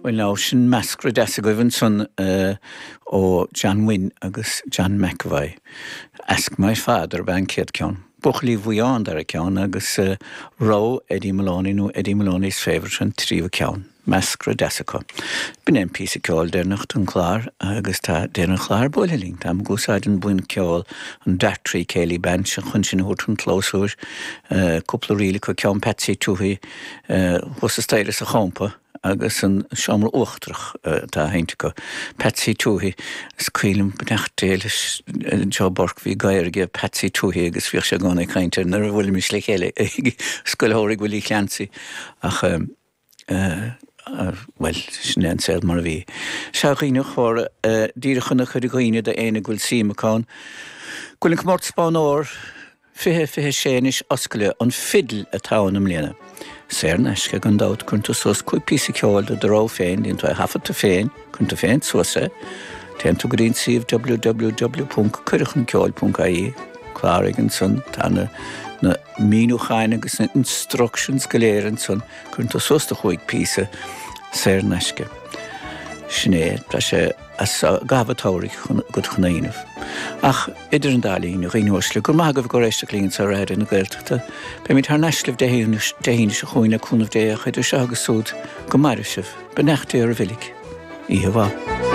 Bhuel now, sin meascra deas agaibh ansan ó John Wynne agus John McEvoy. Ask My Father ab ea an chéad ceann. Buachaillí Mhaigh Eo an dara ceann agus Rogha Eddie Moloney nó Eddie Moloney's Favourite an tríú ceann. Meascra deas acu. B'in é an píosa ceoil deireanach don chlár agus tá deireadh an chláir buailthe linn. Táim ag úsáid an buíon ceoil, an Dartree Céilí Band, chun sinn a thabhairt chun clabhsúir. Cúpla ríl acu, ceann Patsy Touhey thuas an staighre sa champa. agus an seomra uachtarach atá á sheinnt acu. Patsy Touhey, is cuimhin liom, beannacht Dé leis Joe Burke, bhí gadhar aige, Patsy Touhey, agus bhíodh sé i gcónaí ag caint air nuair a bhuailimis le chéile ag Scoil Shamhraidh Willie Clancy. Ach, bhuel, sin é an saol mar a bhí. Sea, a dhaoine chóra, díreach chun a chur i gcuimhne d'éinne go bhfuil suim acu ann, go bhfuil an Comórtas Bonn Óir, 20, 26 anois oscailte, an fidil atá ann i mbliana. Saor in aisce gan dabht, cuireann tú suas 5 píosa ceoil de do rogha féin, déanann tú é a thaifead tú féin, cuireann tú féin suas é, téann tú go dtí an suíomh www.cuireadhchunceoil.ie, cláraigh ansan, tá na na míniúcháin agus na instructions go léir ansan, cuireann tú suas do chúig píosa, saor in aisce. Sin é, tá sé. as i gcaitheamh an tsamhraidh agat chun é a dhéanamh. Ach idir an dá linn, a dhaoine uaisle, go raibh maith agaibh ag éisteacht linn anseo ar Raidió na Gaeltachta. Beimid thar n-ais libh Dé hAoine seo chugainn le cúnamh Dé ach idir seo agus súd, go maire sibh. Beannacht Dé oraibh uilig. Oíche mhaith.